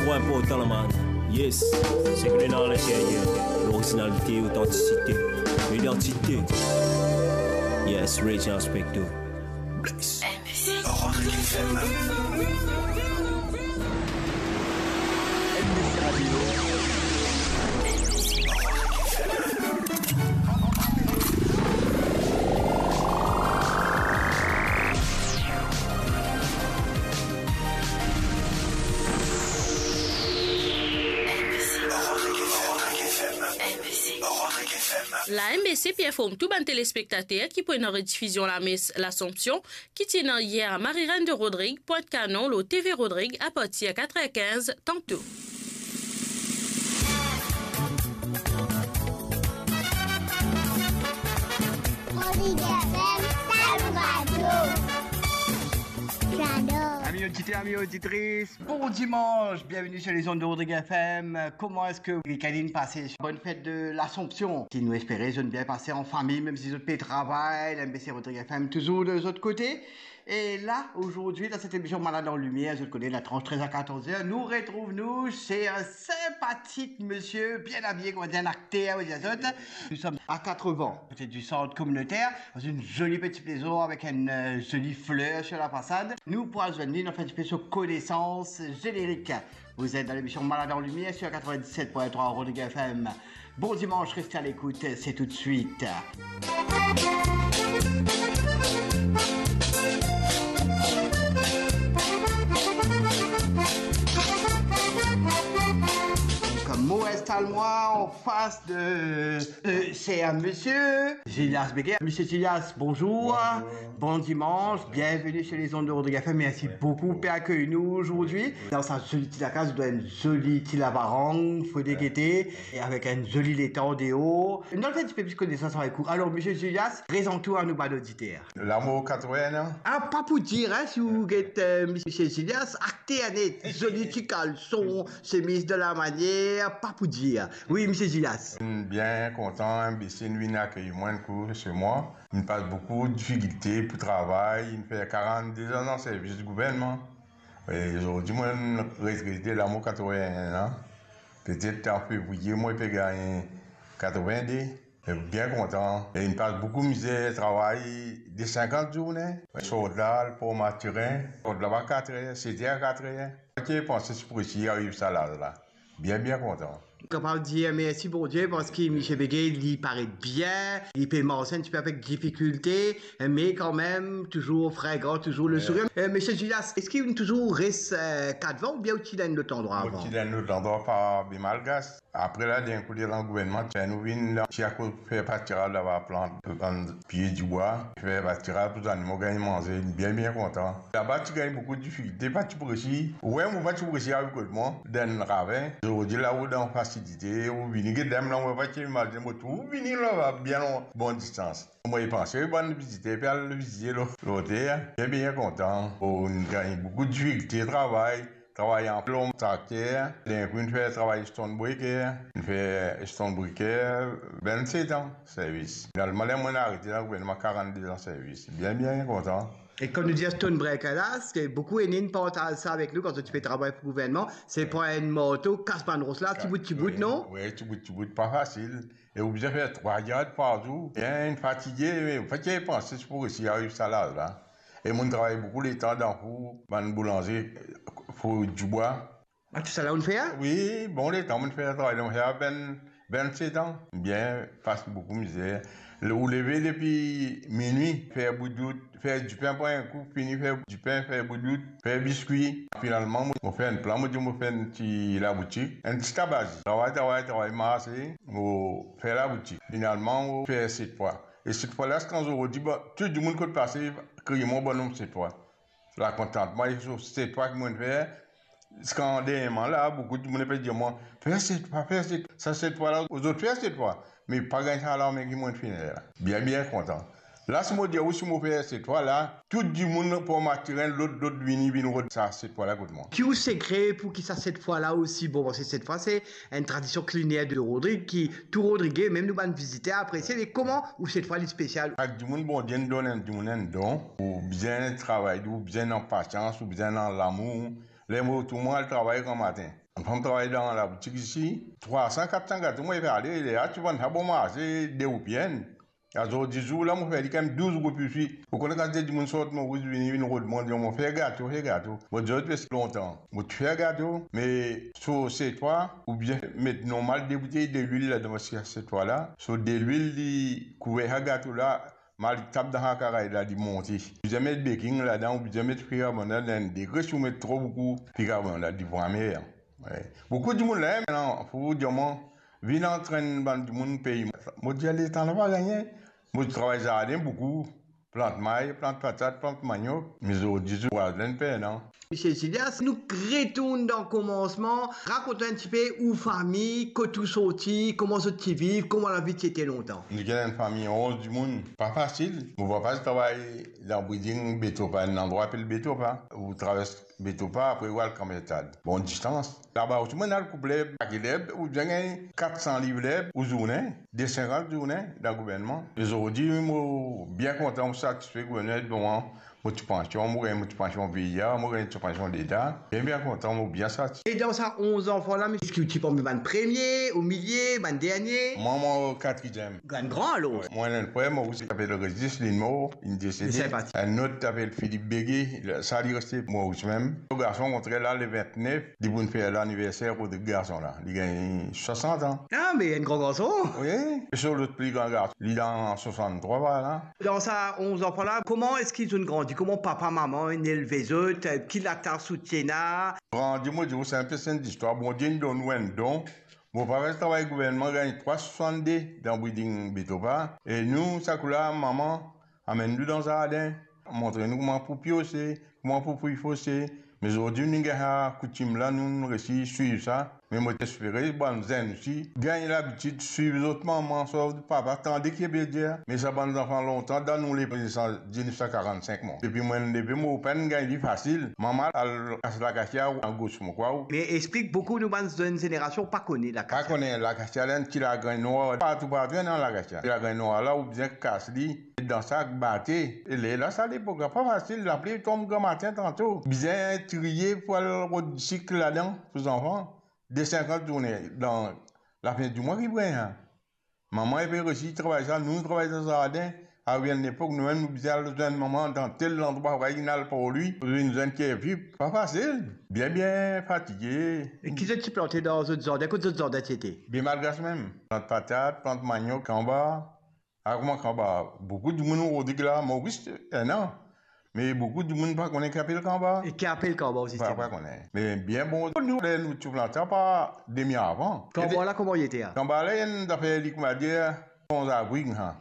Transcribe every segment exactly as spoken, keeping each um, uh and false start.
Pwin inportan la, man. Yes. Sekre dan linteryer. Lorizinalite, otantisite, idantite. Yes, Reggie Inspector. Bless. M B C. Rodrigue F M. M B C Radio. La M B C pe inform tou bann telespektater ki pou ena redifizion lames Lasanpsion ki ti ena yer a Marie-Reine de Rodrigue, Pointe-Canon, lor T V Rodrigue, apartir katrevin-kinz tanto. Rodrigue F M, sa nou radio. J'adore. Amis auditeurs, amis auditrices, bon dimanche, bienvenue sur les ondes de Rodrigue F M. Kouma eski week-end inn pase? Bonne fête de l'Assomption. Si nou espere zot inn bien pase an fami, mem si zot pe travay, la M B C Rodrigue F M touzour de zot kote. E la, zordi, dan set emision Malad an Limier, zot kone, la tranche trez a katorz er, nou retrouv nou se enn sinpatik misie, bien abiye, kouma dir, enn akter, ou dir zot. Nou som a Katrevan, kote di sant kominoter, dan enn zoli peti plezor avek enn, euh, zoli fler sur la fasad. Nou pou al zwenn li, nou fer enn tipe so konesans zenerik. Vous êtes dans l'émission Malade en Lumière sur quatre-vingt-dix-sept point trois Rodrigue F M. Bon dimanche, restez à l'écoute, c'est tout de suite. Kouma mo instal mwa an fas de, euh, se enn misie Gilliass Beguet. Misie Gilliass, bonzour. Bonzour. Bon dimanche, bienvenue sur les ondes de Rodrigue F M. Merci beaucoup pe akeyir nou zordi. Dan sa zoli ti lakaz, dan enn zoli ti lavarang, fode gete, e avek enn zoli letan deor. Nou al fer enn tipe plis konesans avek ou. Alor, misie Gilliass, prezant ou a nou bann oditer. La mo katrevin an. Ah, pa pou dir, hein, si ou get, euh, misie Gilliass, akter net, zoli ti kalson, semiz de la manière, pa pou dir. Wi, misie Gilliass. Bien kontan, hein, M B C inn vinn akeyir mwa enn kou se mwa. Inn pas boukou difikilte pou travay, inn fer karant-de-z-an dan servis gouvernman. E zordi, mo retrete, la mo katrevin-enn an. Petet an fevriye, mo pe gagn katrevin-de. E bien kontan. E inn pas boukou mizer, travay de sinkant zourne. Sort la, al Port Mathurin. Sort laba kat er, set er a kat er. Pa ti panse si pou resi ariv sa laz la. Bien, bien kontan. Kapav dir mersi Bondie parski misie Beguet, li paret bien, li pe mars enn tipe avek difikilte, me kanmem, touzour fringan, touzour le sourir. Euh, misie Gilliass, eski ou touzour res, euh, Katrevan oubien ou ti dan enn lot landrwa avan? Mo ti dan enn lot landrwa, pa be Malgas. Apre la, dan enn kou, dan gouvernman, ti fer nou vinn la, ti akoz fer patiraj laba, plant bann pie dibwa, fer patiraj pou zanimo gagn manze, bien, bien kontan. Laba ti gagn boukou difikilte, pa ti pou resi. Ou wer, mo pa ti pou resi ariv kot mwa, dan enn ravin. Zordi la, ou dan fasilite, ou vini get mwa la, mo pa ti imazine mo trouv vini laba, bien lon, bon distans. Mo panse bann viziter pe al vizite lo-, lotel, bien, bien kontan. Inn gagn boukou difikilte travay. Travay an plonb, trakter, dan enn kou inn fer travay stonebreaker, inn fer stonebreaker, vennset an servis. Finalman, ler mo'nn arete dan gouvernman, karant-de-z-an servis. Bien, bien kontan. E kan nou dir stonebreaker la, se boukou inn partaz sa avek nou kan zot ti pe travay pou gouvernman, se pran enn marto, kas bann ros la, tibout, tibout, non? Wi, tibout, tibout, pa fasil. E ou bizin fer trwa yard par zour. Bien, inn fatige, me ou pa ti panse si pou resi ariv sa laz la. E mo'nn travay boukou letan dan four, bann boulanze, four dibwa. Ah, tousala ou'nn fer? Wi, bon letan mo'nn fer travay la, mo'nn fer vinn, vennset an. Bien, pas boukou mizer. Ou leve depi minwi, fer boudout, fer dipin, pran enn kou, fini fer dipin, fer boudout, fer biskwi. Finalman, mo, mo fer enn plan, mo dir mo fer enn ti laboutik, enn ti tabazi. Travay, travay, travay, marse, mo fer laboutik. Finalman, mo fer set fwa. E set fwa la, ziska zordi, bon, tou dimoun kot pase, kriye mwa, "Bonom set fwa." Lakontantman, e so set fwa ki mo'nn fer, ziska dernyerman la, boukou dimoun pe dir mwa, "Fer set fwa, fer set, sa set fwa la, zot fer set fwa." Me pa gagn sa lame ki mo'nn finn fer la. Bien, bien kontan. La, si mo dir ou, si mo fer set fwa la, tou dimoun pou Matirin, lot, lot vini, vinn rod sa set fwa la kot mwa. Ki ou sekre pou ki sa set fwa la osi bon? Parski set fwa, se enn tradision kiliner de Rodrig ki tou Rodrige, mem nou bann viziter apresie. Me kouma ou set fwa li spesial? Sak dimoun, Bondie inn donn enn dimoun enn don. Ou bizin travay, ou bizin ena pasians, ou bizin ena lamour. Ler mo retourn, mo al travay gramatin. Enn fam travay dan laboutik isi, trwa san, kat san gato, mo pe ale, ler la ti vann sa bon marse, de roupi enn. Azordi zour la, mo fer li kanmem douz roupi isi. Ou kone kantite dimoun sort Moris vini, vinn rod mwa, dir mwa, "Fer gato, fer gato." Mo dir zot, "Pe lontan." Mo ti fer gato, me so setwa, oubien met normal de boutey delwil ladan, parski setwa la, so delwil li kouver sa gato la, mal li tap dan sa karay la, li monte. Bizin met beking ladan, ou bizin met bikarbonat, enn degre, si ou met tro boukou bikarbonat, li pou amer. Wi. Boukou dimoun la, mintnan, pou dir mwa, vinn antrenn bann dimoun pey. Mo dir, "Letan la pa gagne." Mo travay zarden boukou, plant may, plant patat, plant maniok. Me zordi zour, vwazin pena. Misie Zilias, nou retourn dan komansman. Rakont nou enn tipe ou fami, kot ou sorti, kouma zot ti viv, kouma lavi ti ete lontan. Nou ti enn fami onz dimoun. Pa fasil. Mo papa ti travay dan breeding Betopa, enn landrwa apel Betopa. Ou travers Betopa, apre ou al Kanbertad. Bon distans. Laba osi, mo'nn al koup lerb, pake lerb, ou bizin gagn kat san liv lerb ou zourne, de sinkant zourne dan gouvernman. E zordi, mo bien kontan, mo satisfe, gouvernman ed mwa, mo ti pansion, mo gagn mo ti pansion V I A, mo gagn ti pansion leta. Bien, bien kontan, mo bien satisfe. E dan sa onz zanfan la, eski ou ti parmi bann premie, omilie, bann dernie? Mwa, mo katriem. Gran, gran alor. Wi. Mo enn frer, Moris, ki apel Rezis, li mor, li desede. Li sinpatik. Enn lot ki apel Filip Bege, sa li reste Moris mem. Mo garson, okontrer la, le vintnef, li pou fer laniverser kot garson la. Li gagn swasant an. Ah, me enn gran garson. Wi. E so lot pli gran garson, li dan swasann-trwa la. Dan sa onz zanfan la, kouma eski zot inn grandi? Kouma papa, mama inn elve zot? Ki latas zot ti ena? Grandi, mo dir ou, se enn pe enn listwar. Bondie inn donn ou enn don. Mo papa ti travay gouvernman, gagn trwa swasannde dan breeding Betopa. E nou, sa kou la, mama amenn nou dan zarden, montre nou kouma pou piose, kouma pou fouy fose. Me zordi, nou gagn sa koutim la, nou, nou resi swiv sa. Me mo espere bann zenn osi gagn labitid swiv zot mama, zot papa, tande ki pe dir. Me sa bann zanfan lontan, dan nou lepo, diznef san karannsink, mwa. Depi mo'nn leve, mo pa'nn gagn li fasil. Mama al kas lakasia, angos, mo krwar. Me explik, boukou nou bann zenn zenerasion pa kone lakasia. Pa kone lakasia, la enn ti lagrin nwar. Partou, partou ena lakasia. Lagrin nwar la, ou bizin kas li dan sak, bate. E lerla, sa lepok la pa fasil, lapli tonm gramatin tanto. Bizin triye pou al rod sik ladan pou zanfan. De sinkant zourne dan lafin dimwa ki pou gagn sa. Mama, li pe resi travay sa, nou travay dan zarden. Ariv enn lepok, nou mem nou bizin al zwenn mama dan tel landrwa, pou al par li, pou vinn zwenn ki epi, pa fasil. Bien, bien fatige. E ki zot ti plante dan zot zarden? Kot zot zarden ti ete? Be malgras mem. Plant patat, plant maniok, kanba. Ah, kouma kanba? Boukou dimoun ozordi la, Moris ena. Me boukou dimoun pa kone ki apel kanba. E ki apel kanba osi? Pa, pa kone. Me bien bon, nou, ler nou ti plant sa pa demi avan. Kanba la, kouma li ete, a? Kanba la, enn zafer li, kouma dir, sanzabri, ha.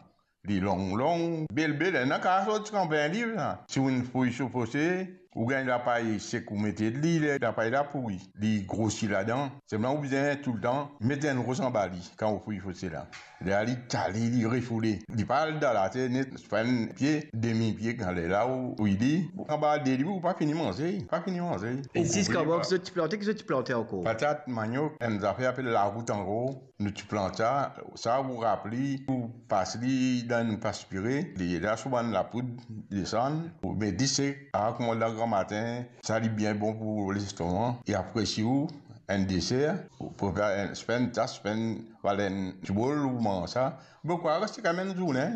Li long, long, bel, bel, ena kapav sort kanba enn liv, ha. Si ou inn fouy so fose, ou gagn lapay sek, ou mete li, ler lapay la pouri, li grosi ladan. Selman ou bizin toultan met enn ros anba li, kan ou fouy fose la. Ler li tale, li refoule. Li pa al dan later net, fer enn pie, demi pie, kan lerla ou fouy li. Anba de liv, ou pa fini manze, pa fini manze. E zis kanba ki zot ti plante, ki zot ti plante ankor? Patat, maniok, enn zafer apel larout ankor. Nou ti plant sa, sa ou rap li, ou pas li dan enn paspire, li la sou bann lapoud, desann, ou met li sek, a, kouma dan gramatin, sa li bien bon pou lestoma. E apre si ou enn deser, ou prepar enn, si pa enn tas, si pa enn, vala enn ti bol, ou manz sa. Mo krwar reste kanmem enn zourne,